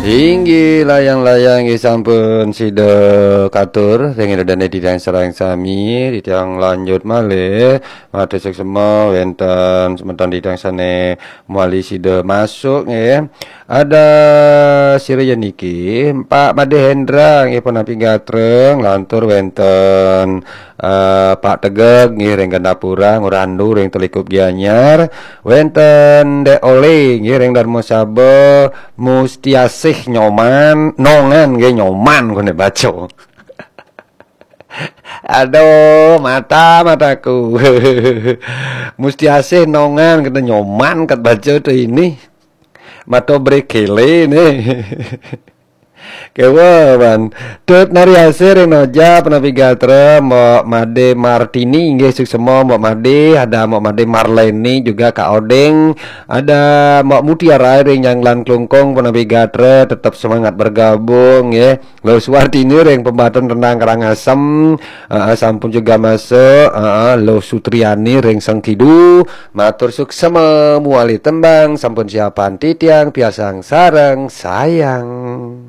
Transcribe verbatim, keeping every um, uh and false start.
Inggih, layang-layang nggih sampun sida katur ring Ida Dane titiang sareng sami, titiang lanjut malih matur suksma wenten semeton titiang sane mawali sida masuk nggih. Ada sira yen niki, Pak Made Hendra nggih punapi gatra, nglantur wenten eh, Pak Tegeg nggih ring Gandapura, Ngurandu ring Telikup Gianyar, wenten Dek Ole nggih ring Darmasaba, Mustiasih Nyoman, Nongan nggih Nyoman kone baca. Aduh, mata mataku. Mustiasih Nongan kena Nyoman kat baca tu ini. Mata brekele nih. Kewa, Wan. Tut Nari Asih ring Noja, punapi gatra, Mbok Made Martini, inggih suksema, Mbok Made, ada Mbok Made Marleni juga, Kak Odeng, ada Mbok Mutiara ring Nyanglan Klungkung, punapi gatra, tetap semangat bergabung, nggih. Lo Suwartini ring Pembaton Rendang Karangasem, heeh, sampun juga masuk, heeh, Lo Sutriani ring Sengkidu, matur suksema, muali tembang, sampun siapan titiang, piasang sareng sayang.